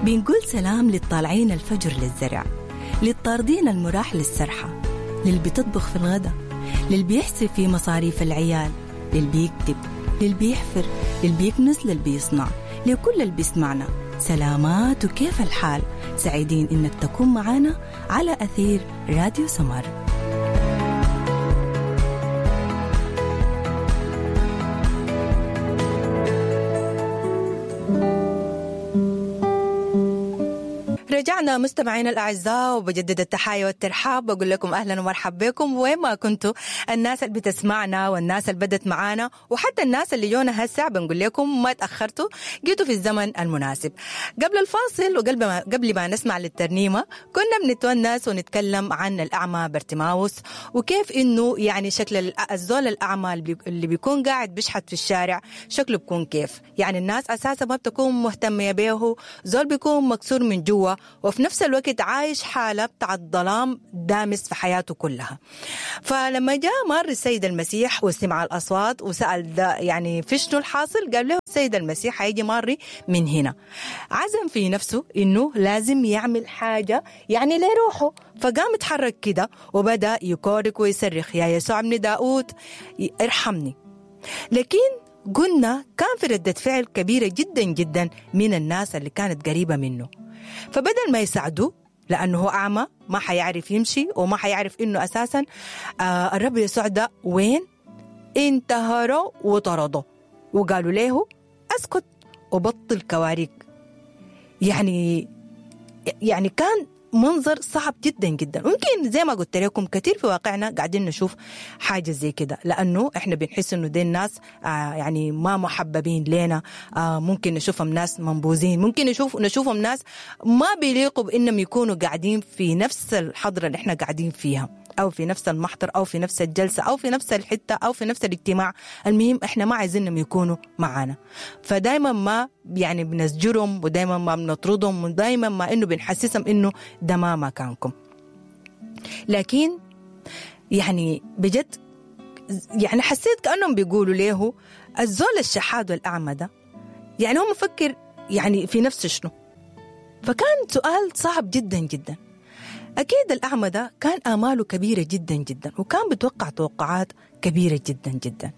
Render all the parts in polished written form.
بنقول سلام للطالعين الفجر للزرع، للطاردين المراح للسرحة، للي بتطبخ في الغداء، للي بيحسب في مصاريف العيال، للي بيكتب، للي بيحفر، للي بيكنس، للي بيصنع، لكل اللي بيسمعنا. سلامات وكيف الحال؟ سعيدين إنك تكون معنا على أثير راديو سمر. رجعنا مستمعينا الأعزاء، وبجدد التحايا والترحاب، بقول لكم أهلا ومرحبا بكم وين ما كنتوا، الناس اللي بتسمعنا والناس اللي بدت معانا وحتى الناس اللي جونا هسه، بنقول لكم ما تأخرتوا، جيتوا في الزمن المناسب. قبل الفاصل وقبل ما نسمع للترنيمة كنا بنتونس ونتكلم عن الأعمى برتماوس، وكيف إنه يعني شكل الزول الأعمى اللي بيكون قاعد بيشحت في الشارع شكله بيكون كيف. يعني الناس أساسا ما بتكون مهتمة به، زول بيكون مكسور من جوا وفي نفس الوقت عايش حالة بتاع الظلام دامس في حياته كلها. فلما جاء مر السيد المسيح وسمع الأصوات وسأل ده يعني في شنو الحاصل، قال له السيد المسيح هيجي ماري من هنا. عزم في نفسه إنه لازم يعمل حاجة يعني لروحه، فقام اتحرك كده وبدأ يكورك ويصرخ يا يسوع ابن داود ارحمني. لكن قلنا كان في ردة فعل كبيرة جدا جدا من الناس اللي كانت قريبة منه، فبدل ما يساعدوه لأنه هو أعمى ما حيعرف يمشي وما حيعرف إنه أساسا الرب يسوع ده وين، انتهروا وطردوه وقالوا له أسكت وبطل كواريك. يعني كان منظر صعب جدا جدا. ممكن زي ما قلت لكم كثير في واقعنا قاعدين نشوف حاجة زي كده، لأنه إحنا بنحس إنه دي الناس يعني ما محببين لنا، ممكن نشوفهم ناس منبوذين، ممكن نشوفهم ناس ما بيليقوا بإنهم يكونوا قاعدين في نفس الحضرة اللي إحنا قاعدين فيها، أو في نفس المحضر، أو في نفس الجلسة، أو في نفس الحتة، أو في نفس الاجتماع. المهم إحنا ما عايزينهم يكونوا معانا، فدايما ما يعني بنزجرهم، ودايما ما بنطردهم، ودايما ما إنه بنحسسهم إنه ده ما مكانكم. لكن يعني بجد يعني حسيت كأنهم بيقولوا له الزول الشحاد والأعمى ده، يعني هو مفكر يعني في نفسه شنو. فكان سؤال صعب جدا جدا. أكيد الأعمى ده كان آماله كبيرة جدا جدا، وكان بتوقع توقعات كبيرة جدا جدا.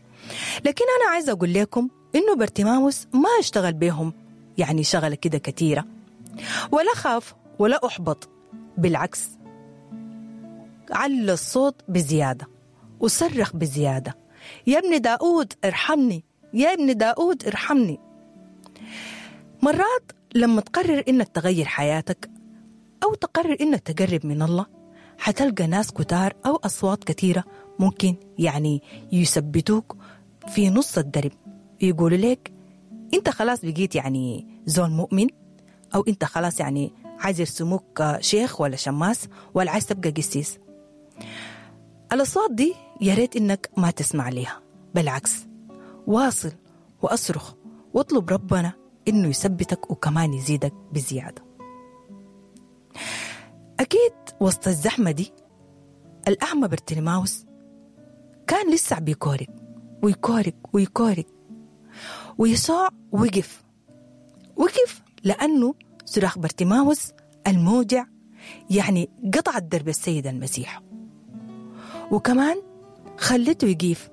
لكن أنا عايزة أقول لكم إنه برتماوس ما اشتغل بهم يعني شغلة كده كثيرة، ولا خاف ولا أحبط، بالعكس على الصوت بزيادة وصرخ بزيادة، يا ابن داود ارحمني، يا ابن داود ارحمني. مرات لما تقرر إنك تغير حياتك أو تقرر إنك تقرب من الله، حتلقى ناس كتار أو أصوات كثيرة ممكن يعني يثبتوك في نص الدرب، يقولوا لك أنت خلاص بقيت يعني زول مؤمن، أو أنت خلاص يعني عايز يرسموك شيخ ولا شماس، ولا عايز تبقى قسيس. الأصوات دي يا ريت إنك ما تسمع ليها، بالعكس واصل وأصرخ واطلب ربنا إنه يثبتك وكمان يزيدك بزيادة. أكيد وسط الزحمة دي الأعمى برتلماوس كان لسه بيكورك ويكورك ويكورك، ويسوع وقف لأنه صراخ برتماوس الموجع يعني قطع درب السيد المسيح، وكمان خلته يقيف،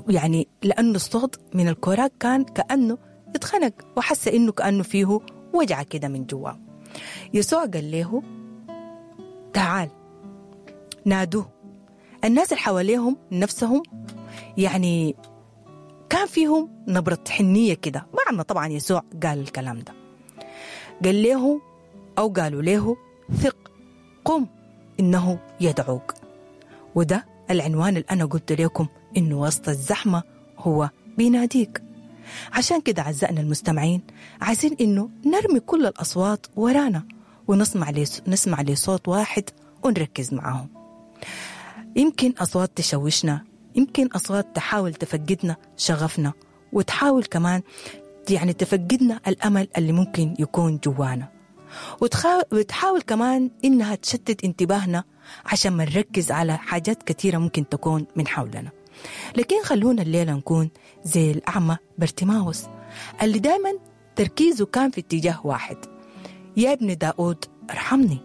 يعني لأنه الصوت من الكوراك كان كأنه اتخنق وحس إنه كأنه فيه وجع كده من جواه. يسوع قال له تعال، نادوه. الناس اللي حواليهم نفسهم يعني كان فيهم نبرة حنية كده، مع ما طبعا يسوع قال الكلام ده، قال له أو قالوا له ثق، قم إنه يدعوك. وده العنوان اللي أنا قلت لكم إنه وسط الزحمة هو بيناديك. عشان كده أعزائنا المستمعين عايزين إنه نرمي كل الأصوات ورانا ونسمع لصوت واحد ونركز معاهم. يمكن أصوات تشوشنا، يمكن أصوات تحاول تفقدنا شغفنا، وتحاول كمان يعني تفقدنا الأمل اللي ممكن يكون جوانا، وتحاول كمان إنها تشتت انتباهنا عشان ما نركز على حاجات كثيرة ممكن تكون من حولنا. لكن خلونا الليلة نكون زي الأعمى برتماوس اللي دايما تركيزه كان في اتجاه واحد، يا ابن داود ارحمني.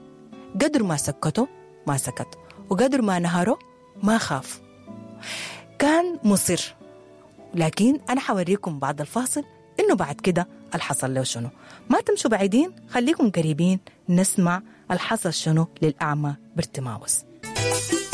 قدر ما سكته ما سكت، وقدر ما نهره ما خاف، كان مصر. لكن أنا حوريكم بعد الفاصل إنه بعد كده الحصل له شنو. ما تمشوا بعيدين، خليكم قريبين نسمع الحصل شنو للأعمى برتماوس.